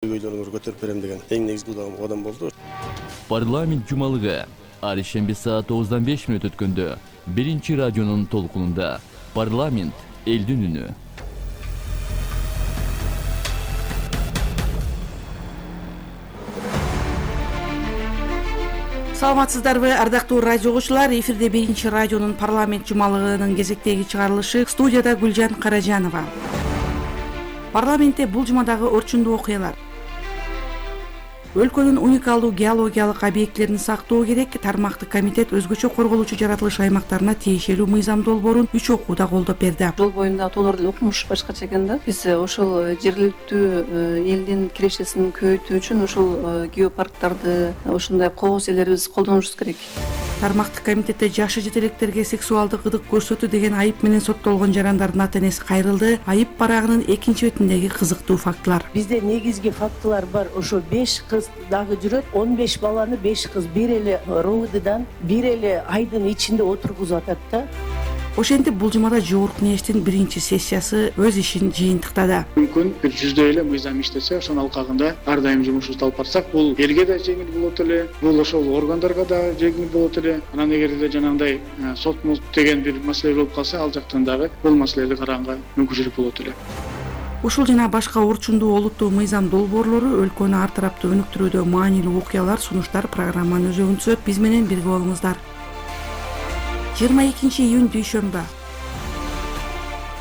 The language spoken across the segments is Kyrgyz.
көйгөйлөрүңөрдү көтөрүп берем деген эң негизги кадам болду. Парламент жумалыгы ар ишемби саат 9:05 өткөндө биринчи радионун толкунунда парламент элдин үнү. Саламатсыздарбы, ардактуу радио угуучулар? Эфирде биринчи радионун парламент жумалыгынын кезектеги чыгарылышы. Студияда Гүлжан Каражанова. Парламентте бул жумадагы орчундуу окуялар. Өлкөнүн уникалдуу геологиялык объектилерин сактоо керек. Тармактык комитет өзгөчө корголуучу жаратылыш аймактарына тиешелүү мыйзам долбоорун 3 окууда колдоп берди. Жол боюнда тоолор деле окумуш башкача экен да. Биз ошол жергиликтүү элдин кирешесин көбөйтүү үчүн ошол геопарктарды ушундай кооз элерибиз колдонушубуз керек. Тармактык комитетте жашы жетелектерге сексуалдык ырдык көрсөтүү деген айып менен соттолгон жарандардын ата-энеси кайрылды. Айып барагынын экинчи бетиндеги кызыктуу фактылар. Бизде негизги фактылар бар. Ошо 5 кыз дагы жүрөт. 15 баланы 5 кыз бир эле РОВДдан бир эле айдын ичинде отургузуп атат да. Ошентип бул жумада Жогорку кеңештин биринчи сессиясы өз ишин жыйынтыктады. Мүмкүн бир 100дөй эле мыйзам иштесе, ошонун алкагында ар дайым жумушубузду алып барсак, бул элге да жеңил болот эле, бул ошол органдарга да жеңил болот эле. Анан эгерде жанагындай сот деген бир маселе болуп калса, ал жактан дагы бул маселени караганга мүмкүнчүлүк болот эле. Ушул жана башка орчундуу олуттуу мыйзам долбоорлору өлкөнү ар тараптуу өнүктүрүүдө маанилүү окуялар, сунуштар программанын өзөгүн түзөт. Биз менен бирге болуңуздар. 22 июнь дүйшөмбү.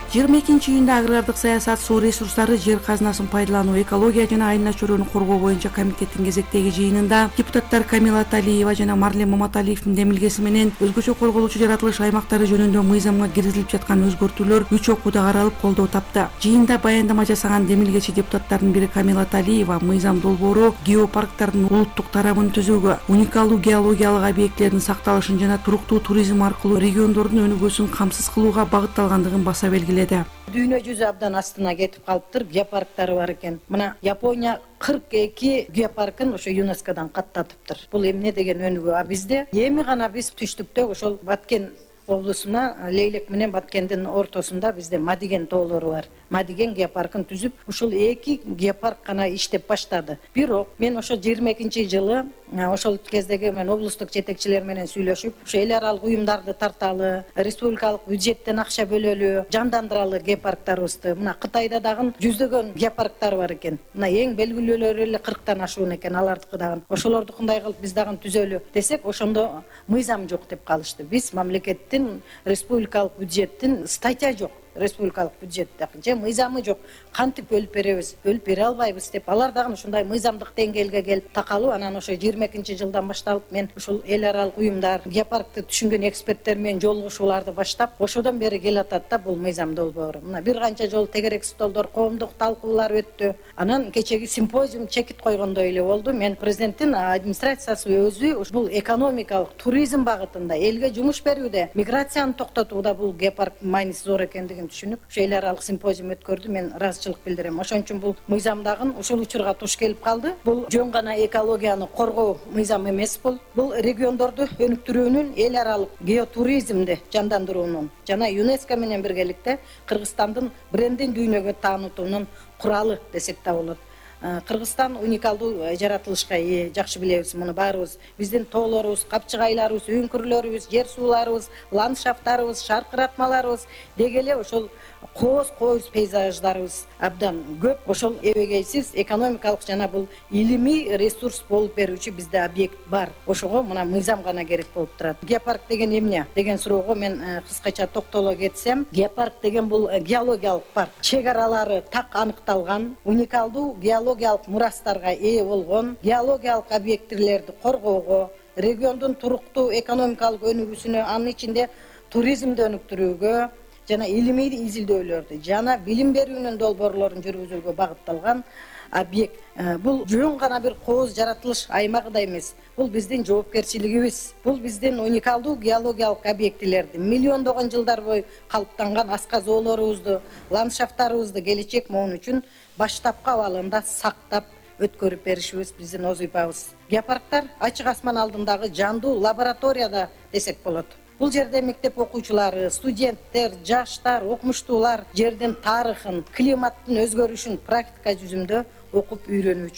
22 июнда агрардык саясат, суу ресурстары, жер казынасын пайдалануу, экология жана айылына чөйрөнү коргоо боюнча комитеттин кезектеги жыйынында депутаттар Камила Талиева жана Марлен Маматалиевдин демилгеси менен өзгөчө корголуучу жаратылыш аймактары жөнүндө мыйзамга киргизилип жаткан өзгөртүүлөр 3 окууда каралып колдоо тапты. Жыйында баяндама жасаган демилгечи депутаттардын бири Камила Талиева мыйзам долбоору геопарктардын улуттук тарабын түзүүгө, уникалдуу геологиялык объектилердин сакталышын жана туруктуу туризм аркылуу региондордун өнүгүүсүн камсыз кылууга багытталгандыгын баса белгиледи. Дүйнө жүзү абдан астына кетип калыптыр, геопарктары бар экен. Мына Япония 42 геопаркын ошо ЮНЕСКОдан каттатыптыр. Бул эмне деген өнүгүү? А бизде эми гана биз түштүктө ошол Баткен облусуна, Лейлек менен Баткендин ортосунда бизде Мадиген тоолору бар. Мадиген геопаркын түзүп, ушул 2 геопарк гана иштеп баштады. Бирок мен ошо 22-жылы ошол кездеги мен облустук жетекчилер менен сүйлөшүп, ошо эл аралык уюмдарды тарталы, республикалык бюджеттен акча бөлөлү, жандандыралы геопарктарыбызды. Мына Кытайда дагы жүздөгөн геопарктар бар экен. Мына эң белгилүүлөрү эле 40тан ашуун экен алардыкы дагы. Ошолордукундай кылып биз дагы түзөлү десек, ошондо мыйзам жок деп калышты. Биз мамлекеттин республикалык бюджеттин статья жок. Республикалык бюджетте же мыйзамы жок. Кантип бөлүп беребиз? Бөлүп бере албайбыз деп. Алар дагы ушундай мыйзамдык деңгээлге келип такалуу. Анан ошо 22-жылдан башталып мен ушул эл аралык уюмдар, геопаркты түшүнгөн эксперттер менен жолугушууларды баштап, ошодон бери келатат да бул мыйзам долбоору. Мына бир канча жолу тегерек столдор, коомдук талкуулар өттү. Анан кечеги симпозиум чекит койгондой эле болду. Мен президенттин администрациясы өзү бул экономикалык, туризм багытында элге жумуш берүүдө, миграцияны токтотууда бул геопарк мааниси зор экендигин түшүнүп, ошо эл аралык симпозиум өткөрдү. Мен ыраазычылык билдирем. Ошон үчүн бул мыйзамдагы ушул учурга туш келип калды. Бул жөн гана экологияны коргоо мыйзам эмес бул. Бул региондорду өнүктүрүүнүн, эл аралык геотуризмди жандандыруунун жана ЮНЕСКО менен биргеликте Кыргызстандын брендин дүйнөгө таанытуунун куралы десек да болот. Кыргызстан уникалдуу жаратылышка ээ, жакшы билебиз муну баарыбыз. Биздин тоолорубуз, капчыгайларыбыз, үңкүрлөрүбүз, жер сууларыбыз, ландшафттарыбыз, шаркыратмаларыбыз деги эле ошол кооз пейзаждарыбыз абдан көп. Ошол эбегейсиз экономикалык жана бул илимий ресурс болуп берүүчү бизде объект бар. Ошого мына мыйзам гана керек болуп турат. Геопарк деген эмне деген суроого мен кыскача токтоло кетсем, геопарк деген бул геологиялык парк. Чек аралары так аныкталган, уникалдуу геологиялык мурастарга ээ болгон, геологиялык объектилерди коргоого, региондун туруктуу экономикалык өнүгүүсүнө, анын ичинде туризмди өнүктүрүүгө жана илимий изилдөөлөрдү жана билим берүүнүн долбоорлорун жүргүзүүгө багытталган объект. Бул жөн гана бир кооз жаратылыш аймагы да эмес. Бул биздин жоопкерчилигибиз. Бул биздин уникалдуу геологиялык объектилерди, миллиондогон жылдар бою калыптанган асказоолорубузду, ландшафттарыбызды келечек моон үчүн баштапкы абалында сактап өткөрүп беришибиз биздин озуйпабыз. Геопарктар ачык асман алдындагы жандуу лабораторияда десек болот. Бул жерде мектеп окуучулары, студенттер, жаштар, окумуштуулар жердин тарыхын, климаттын өзгөрүшүн практика жүзүндө окуп үйрөнүү